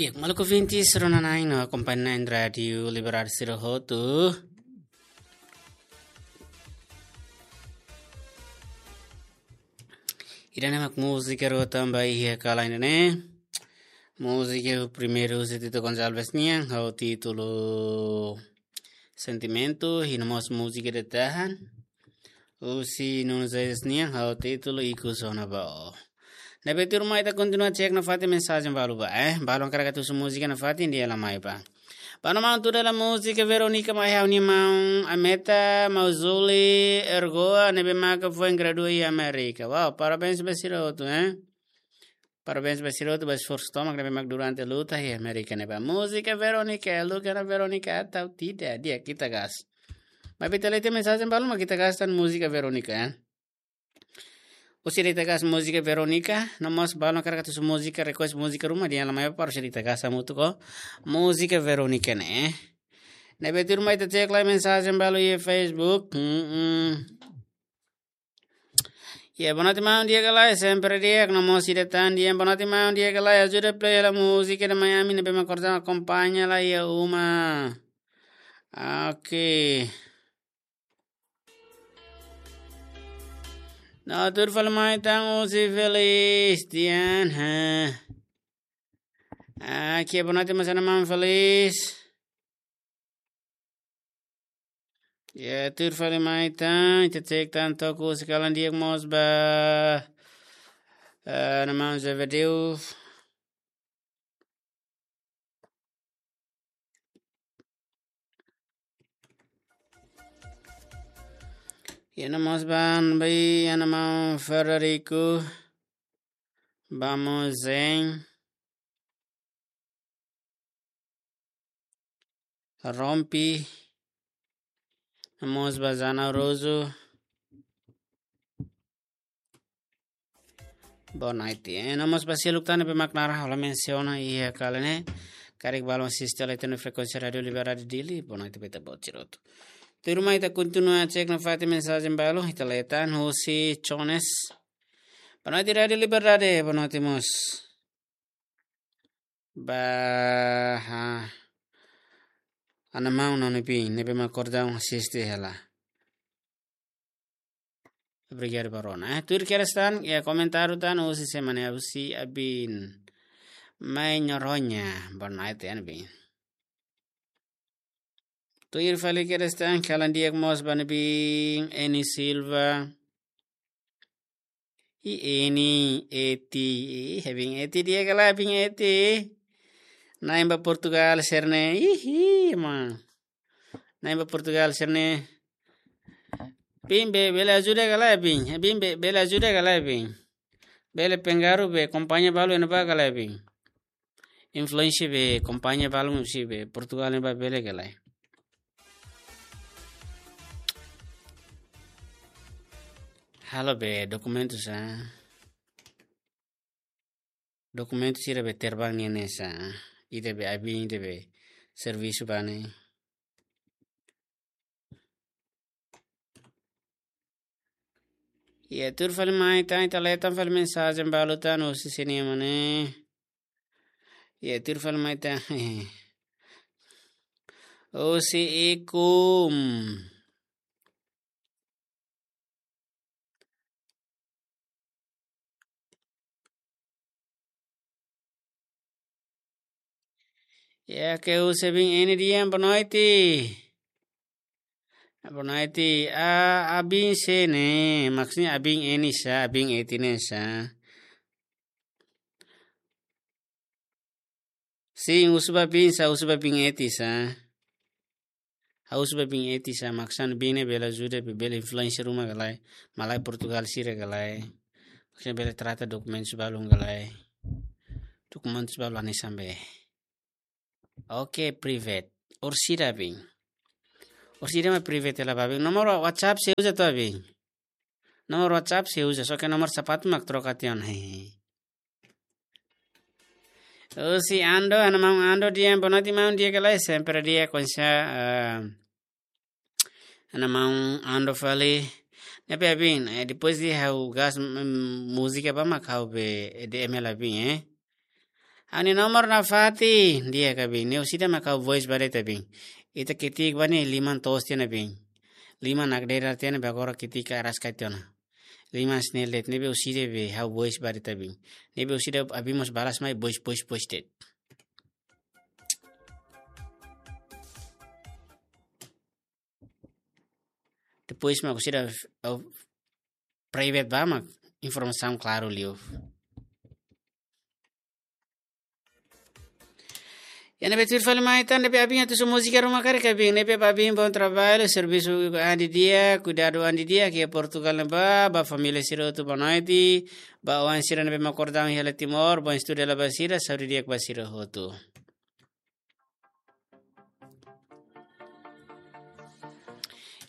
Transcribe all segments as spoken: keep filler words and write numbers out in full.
Di'ak, maluk ouvintes rona-na'in no akompaña na'in Rádiu Liberdade sira hotu. Ida-ne'e mak múzika rua tan ba iha kala ida-ne'e. Múzika primeiru husi Tito Gonçalves nian, ho títulu Sentimentu, i no mós múzika ida tan husi Nuno Zezes nian, ho títulu Ikus Ona Ba. Ne'ebé tuirmai ita kontinua cek nafatin mensajen balu ba, eh. Balu hakarak atu husu múzika nafatin, dehan hela mai ba. Ba ha'u-nia maun tuda hela múzika Veronica mai ha'u-nia maun Ameta, maun Zuli, Ergoa, ne'ebé maka foin gradua iha Amérika. Wow, parabéns ba sira hotu, eh. Parabéns ba sira hotu ba esforsu tomak ne'ebé mak durante luta iha Amérika ne'e ba. Múzika Veronica, luka na Veronica atau tidak, di'ak, ita gas. Maibé ita lee tiha mensajen balu mak ita gas tan múzika Veronica, eh. Husi ida ita gas múzika Veronica, no mós balu hakarak atu husu múzika, request múzika ruma, dehan hela mai ba para husi ida ita gas hamutuk ho múzika Veronica ne'e. Ne'ebé tuirmai ita cek lai mensajen balu iha Facebook. Mm-mm. Ya, boa noite maun, di'ak ka lae, sempre di'ak, no mós ida tan dehan boa noite maun, di'ak ka lae, ajuda play hela múzika ida mai ami ne'ebé mak korda akompaña lai iha uma. Oke. No tuir fali mai tan husi Felis, dehan, ha. Oke, boa noite mós ha'u-nia maun Felis. Ya, tuir fali mai tan, ita cek tan toku husi kalan di'ak mós ba, eh, ha'u-nia maun Zevedeu. Ya, no mós ba, ba ha'u-nia maun Frederico. Vamos em Rompi. No mós ba Zana Roso. Boa noite. Eh, no mós ba seluk tan ne'ebé mak naran ha'u la mensiona iha kala ne'e. Karik balu asiste lai iha frekuénsia Rádiu Liberdade Dili. Boa noite ba ita-boot sira hotu. Tuirmai ita kontinua cek nafatin mensajen balu, ita lee tan husi Jones. Boa noite Rádiu Liberdade, boa noite mós ba, ha, ha'u-nia maun Noni Bin, ne'ebé mak korda asiste hela. Obrigadu ba rona. Eh, tuir kedas tan, ya komentáriu tan, husi semana husi Abin. Mai Noroña, boa noite, Abin. Tuir fali kedas tan, kalan di'ak mós ba Nabin, Eni Silva. I Eni, Eti, i, Abin Eti di'ak ka lae, Abin Eti. Na'in ba Portugal sira-ne'e, ihi, ma. Na'in ba Portugal sira-ne'e. Bin be, bele ajuda ka lae, Bin. Bin be, bele ajuda ka lae, Bin. Bele pengaruh be, kompañia balu iha ne'ebá ka lae, Bin. Influénsia be, kompañia balu husi be, Portugal ne'ebá bele ka lae. Halo be, dokumentu sá. Dokumentu sira be terbang nian ne'e sá. Ida be Abin, ida be servisu ba ne'e. Ya, tuir fali mai tan, ita lee tan fali mensajen balu tan, husi sini mana? Ya, tuir fali mai tan. Husi Ikum. Ya, ke husi Abin Eni dehan boa noite. Boa noite. A, Abin sé ne'e, maksudnya Abin Eni sá, Abin Eti ne'e sá. Sin, husu ba Bin sá, husu ba Bin Eti sá. Ha'u husu ba Bin Eti sá, maksudnya Bin ne'e bele ajuda, be bele influénsia ruma ka lae, malae Portugal sira ka lae. Maksudnya bele trata dokumentus balun ka lae. Dokumentus balun hanesan be. Oke, private. Orsida, Bin. Orsida mak private hela ba, Bin. Nomor WhatsApp sei uza to'o, Bin? Nomor WhatsApp sei uza, só ke nomor sapatu mak troka tiha ona. Husi Ando, ha'u-nia maun Ando dehan, boa noite maun, di'ak ka lae, sempre di'ak, konsa, eh, ha'u-nia maun Ando fali. Ne'ebé Abin, eh, depois de ha'u gas, mm, múzika ba mak ha'u be, eh, D M hela Abin, eh. Ha'u-nia nomor nafatin, di'ak, abin. Ne'e orsida mak ha'u voice ba de'it, abin. Ita ketik ba ne'e liman toos tiha ona, abin. Liman nakdedar tiha ona, be agora ketik araska tiha ona. Liman snel de'it, ne'ebé orsida be ha'u voice ba de'it, abin. Ne'ebé orsida abin mós balas mai voice, voice, voice de'it. Depois mak orsida, eh, private ba mak informasaun klaru liu. Iha ne'ebé tuir fali mai tan, ne'ebé abin atu husu múzika ruma karik, abin, ne'ebé ba abin bom trabalho, servisu an di'ak, kuidadu an di'ak, iha Portugal ne'e ba, ba família sira hotu boa noite, ba oan sira ne'ebé mak kordang iha Timor, bom estudu hela ba sira, saúde di'ak ba sira hotu.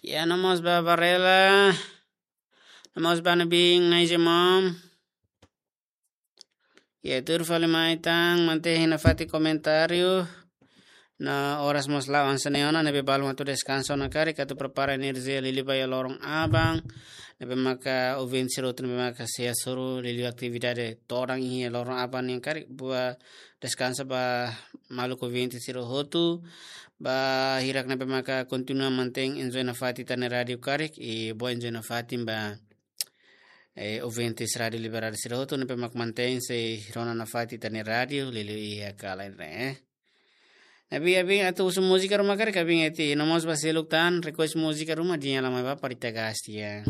Ya, no mós ba Varela, no mós ba Nabing, Naizemom. Ya, tuir fali mai tan, mantein nafatin komentáriu. No oras mós la'o hanesan ne'e ona, ne'ebé balun atu deskansa ona karik, atu prepara enerjia liuliu ba iha loron aban. Ne'ebé maka ouvinte sira hotu, ne'ebé maka sei hasoru liuliu atividade todan iha loron aban nian karik, bá deskansa ba maluk ouvinte sira hotu. Ba hirak ne'ebé maka kontinua mantein enjoy nafatin ita-nia rádiu karik, i bom enjoy nafatin ba, eh, ouvintes Rádiu Liberdade sira hotu ne'ebé mak mantein sei rona nafatin ita-nia rádiu liuliu iha kalan ne'e. Ne'ebé abin atu husu múzika ruma karik, abin eti, no mós ba seluk tan, request múzika ruma, di'ak, la mai ba para ita gasti ya.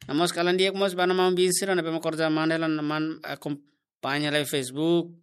No mós kalan di'ak mós ba no maun bin sira ne'ebé mak kordang manda la man akompaña live Facebook.